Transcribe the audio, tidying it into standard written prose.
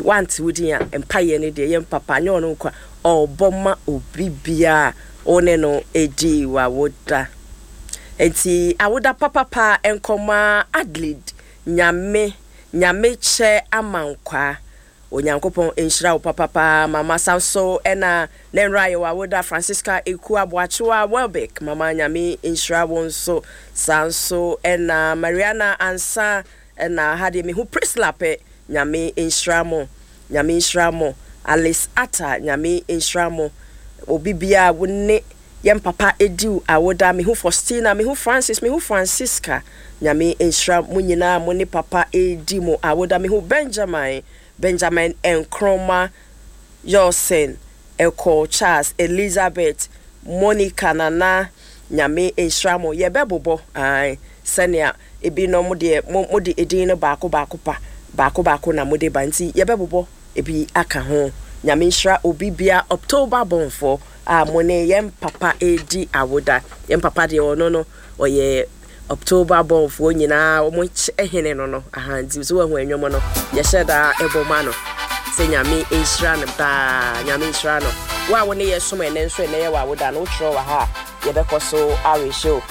Wante wo din a, mpaeɛ no deɛ yɛn papa nyɛ ɔno nko a ɔrebɔ ma obi biara a wo ne no di w'awoda. Nti awoda papapa nkɔma Adelaide Nyame Nyame kyɛ amankwaa. Onyankopɔn nhyira wo papapa mama san so ɛna ne nwera yɛ w'awoda Francisca Eku Aboakyewa Welbeck mama Nyame nhyira wo nso saa nso ɛna Mariana Ansa ɛna ha deɛ mehu Priscilla pɛ Nyame nhyira mo Nyame nhyira mo Alice Atta Nyame nhyira mo obi biaa wo ne yɛn papa ediw awoda mehu Faustina mehu Francis mehu Francisca Nyame nhyira mo nyinaa mo ne papa edi mo awoda mehu Benjamin Benjamin Nkrumah Yorson Ekow Charles Elizabeth Monica Nana Nyame nhyira mo yɛbɛbobɔ ae sɛnea Ebinom deɛ mo mode edin no baako baako pa baako baako na mode ba nti yɛbɛbobɔ ebi aka ho. Nyame nhyira obi bia October bornfoɔ a mo ne yɛn papa redi awoda. Yɛn papa deɛ ɔno no ɔyɛ October bornfoɔ nyinaa wɔn hene no no aha nti so wahu ɛnwom no yɛhyɛ daa ɛbɔ ma no sɛ Nyame nhyira no daa Nyame nhyira no. Wo a wo ne yɛ som ɛnɛ nso ɛnɛ yɛ wɔ awoda no wotwerɛ wɔ ha a yɛbɛkɔ so awehyɛ o.